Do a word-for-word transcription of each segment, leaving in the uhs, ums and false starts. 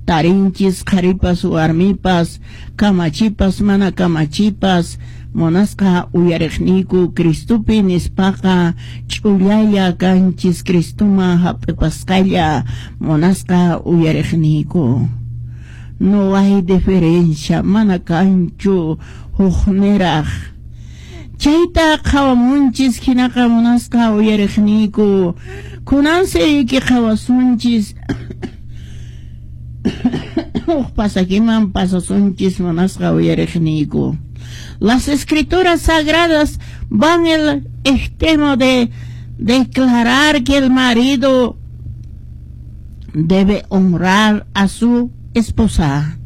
tarinchis qharipas warmipas kamachipas mana kamachipas munasqa uyariqniyku Cristopi nispaqa ch'ullalla kanchis Cristoman hap'ipasqalla munasqa uyariqniyku. No hay diferencia, mana kanchu hukniraq. Chayta qhawamunchis hinaqa munasqa uyariqniyku. Kunansi qhawasunchis huk pasakiman pasasunchis munasqa uyariqniyku. Las escrituras sagradas van el extremo de declarar que el marido debe honrar a su esposa.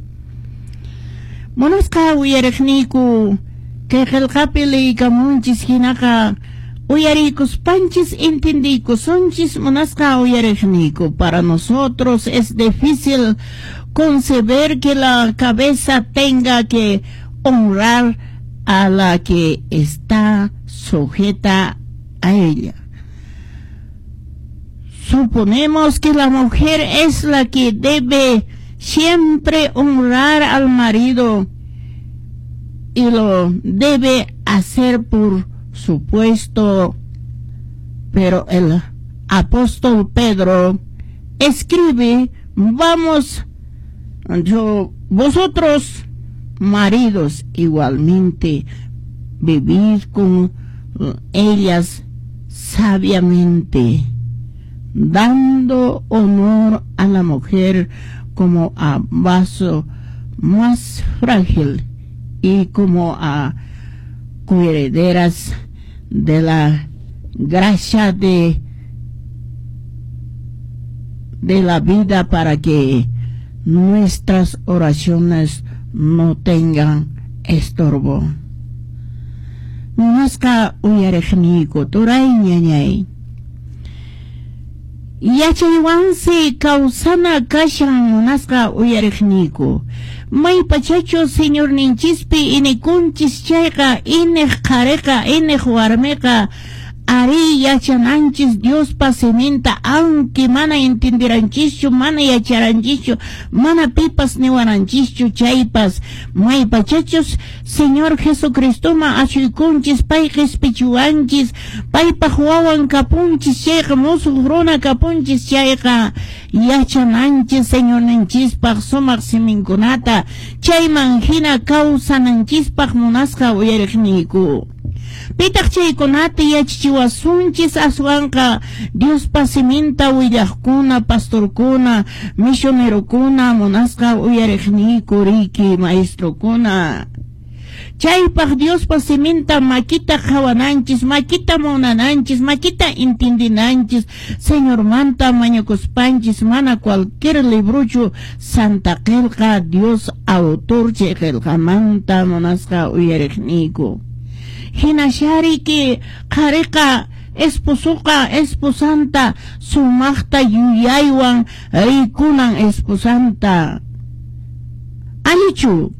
Munasqa uyariqniyku kay qillqapi liykamunchis hinaqa uyarikuspanchis entendiykusunchis munasqa uyariqniyku. Para nosotros es difícil concebir que la cabeza tenga que honrar a la que está sujeta a ella. Suponemos que la mujer es la que debe siempre honrar al marido y lo debe hacer por supuesto, pero el apóstol Pedro escribe: vamos, yo, vosotros maridos igualmente vivid con ellas sabiamente, dando honor a la mujer como a vaso más frágil y como a coherederas de la gracia de, de la vida, para que nuestras oraciones no tengan estorbo. Munasqa uyariqniyku turay ñañay. Yachaywansi kawsana kashan munasqa uyariqniyku. Maypachachu Señorninchispi inikunchis chayqa iniq qhariqa iniq warmiqa ari yachananchis Diospa siminta, aunque mana entendiranchischu, mana yacharanchischu, mana pipas niwaranchischu chaypas, maypachachus Señor Jesucristoma ashuykunchis, pay qispichiwanchis, paypaq wawan kapunchis chayqa, musuq runa kapunchis chayqa, yachananchis Señorninchispaq sumaq siminkunata, chayman hina kawsananchispaq munasqa uyariqniyku. Pitaq chaykunata yachachiwasunchis aswanqa Diospa siminta willaqkuna, pastorkuna, misionerokuna, munasqa uyariqniyku riki maestrokuna. Chaypaq Diospa siminta makita qhawananchis, makita munananchis, makita entendinanchis, Señormanta mañakuspanchis, mana cualquier libruchu Santa Qillqa Dios autor chay qillqamanta munasqa uyariqniyku. Hinashariki qhariqa esposuqa esposanta sumaqta yuyaywan rikunan esposanta. Allichu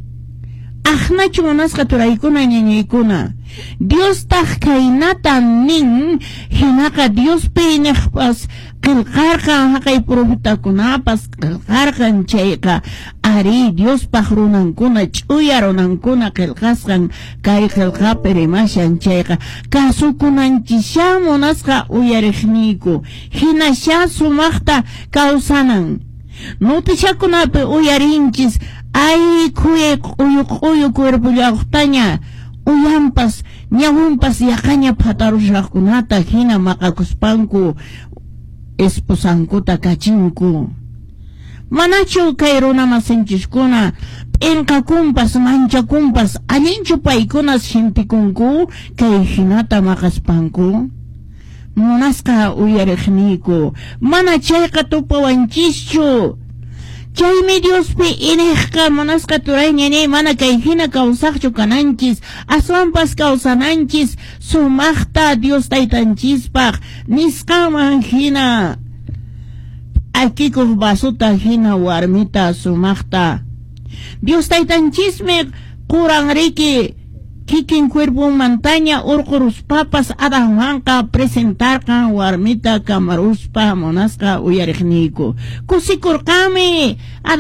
aqnachu munasqa turaykuna ñañaykuna. Diostaq kaynata nin, hinaqa Diospi iniqpas qillqarqan haqay profetakunapas qillqarqan chayqa ari Diospaq runankuna ch'uya runankuna qillqasqan kay qillqapi rimashan chayqa kasukunanchisha munasqa uyariqniyku hinasha sumaqta kawsanan. Notishakunapi uyarinchis ay khuyay q'uyu q'uyu cuerpollaqtaña uyanpas ñawinpas yaqaña phatarushaqkunata hina maqakuspanku esposankuta kachinku. Manachu kay runa masinchiskuna p'inqakunpas manchakunpas allinchu paykuna sintikunku kay hinata maqaspanku? Munasqa uyariqniyku mana chayqa tupawanchischu. Chaymi Diospi iniqqa munasqa turay ñañay mana kay hina kawsaqchu kananchis, aswanpas kawsananchis sumaqta Dios taytanchispaq nisqanman hina akikuq vasota hina warmita sumaqta. Dios taytanchismi quran riki kikin cuerponmantaña urquruspapas Adanwanqa presentarqan warmita kamaruspa munasqa uyariqniyku. Kusikurqanmi.